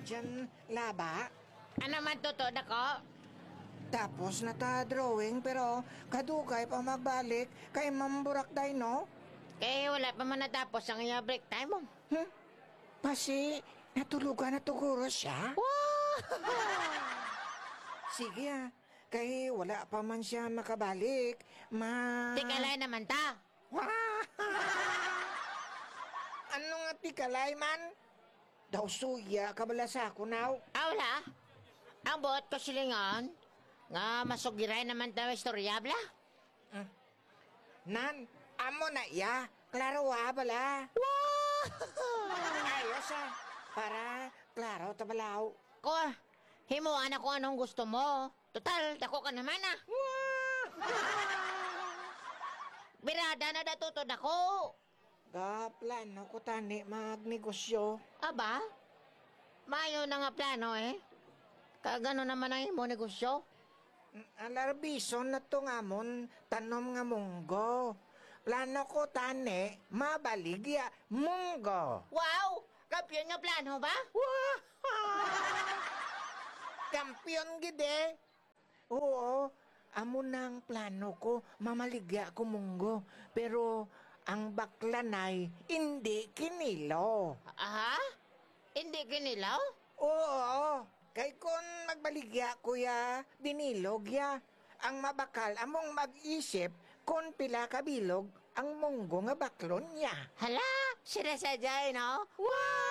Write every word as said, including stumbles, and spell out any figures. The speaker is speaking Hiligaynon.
Diyan, laba. Ano man, Toto, dako? Tapos na ta drawing, pero kadugay pa magbalik kay Ma'am Burak Day, no? Kay wala pa man natapos ang iya break time, oh. Hmm? Pasi, natulugan na tuguro siya? Wow! Sige, ah. Kay wala pa man siya makabalik. Ma- Tikalay naman ta. Wah! Ano nga tikalay man? Daw suya ka bala sa ako, naw. Ah, wala. Ang buot ko silingon, nga masugiray naman ta istorya, bala. Mm. Nan, amo na iya. Klaro, ah, bala. Wow! Ayos, ah. Para klaro ta balaw. Ko, himuan ako anong gusto mo. Total, dako ka naman, ah. Wow! Birada na dato to dako. Gaplano ko tani magnegosyo. Aba? Mayo na nga plano, eh. Kag ano naman ang imo negosyo? Mm, alarbison na to nga amon tanom nga munggo. Plano ko tani mabaligya munggo. Wow! Kampiyon nga plano ba? Wow! Kampiyon gid, eh. Oo, amo na ang plano ko, mamaligya ko munggo. Pero ang baklanay, indi kinilo. Aha? Indi kinilo? Oo, kay kon magbaligya ko ya, binilog ya. Ang mabakal among mag-isip kon pila ka bilog ang munggo nga baklon niya. Hala, sila sa jay, no? Wow!